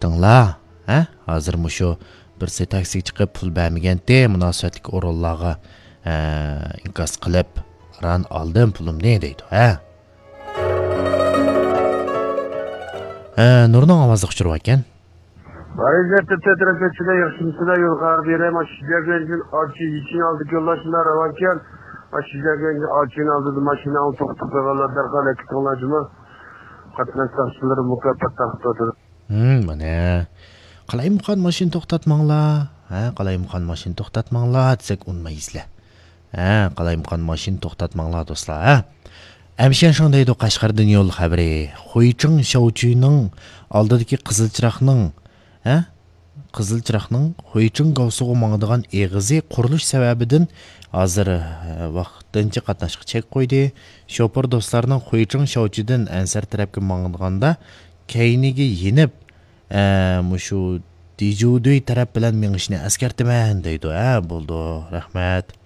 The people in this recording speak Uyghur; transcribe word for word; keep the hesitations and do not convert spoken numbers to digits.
كەتتىڭلار، ھە؟ ھازىر مۇشۇ بىرسى تاكسىگە چىقىپ پۇل بەرمىگەنتى، مۇناسىۋەتلىك ئورۇنلارغا، ھە، ئىنكاس قىلىپ، ئاران ئالدىم پۇلۇمنى دەيدۇ، ھە؟ ھە، نۇرنىڭ ئاۋازى ئۇچۇرۇۋاتكەن. ۋەزىيەتتە تەترەكلەشچىدە ياخشىمسىلەر يول قارار بېرەي، ماشىنا جەگەنجىن ئاچى يېچىن ئالدى يوللاشما راۋانكەن، ماشىنا جەگەنجىن ئاچىنى ئالدىدا ماشىنا توختىتىپ قويغانلار دەرھال ھەرىكەت قىلىڭلار جۇمۇ. قاتناش ساقچىلىرى مۇكاپات تارقىتىۋاتىدۇ. ھىم، مانا. قالايمىقان ماشىنا توختاتماڭلار. ھە، قالايمىقان ماشىنا توختاتماڭلار دېسەك ئۇنىمايسىلەر. ھە، قالايمىقان ماشىنا توختاتماڭلار دوستلار، ھە. ئەمشەن شۇڭ دەيدۇ قەشقەردىن يول خەۋىرى. خۇيچىڭ شاۋچۈنىڭ ئالدىدىكى قىزىل چىراغنىڭ، ھە؟ قىزىل چىراغنىڭ خۇيچىڭ گاۋسىغا ماڭىدىغان ئېغىزى قۇرۇلۇش سەۋەبىدىن ھازىر، ھە، ۋاقتىنچە قاتناشقا چەك قويدى. شوپۇر دوستلارنىڭ خۇيچىڭ شاۋچىدىن ئەنسەر تەرەپكە ماڭىدىغاندا كەينىگە يېنىپ، ئە، مۇشۇ دىجۇدۈي تەرەپ بىلەن مېڭىشنى ئەسكەرتىمەن دەيدۇ. ھە، بولدى، رەھمەت.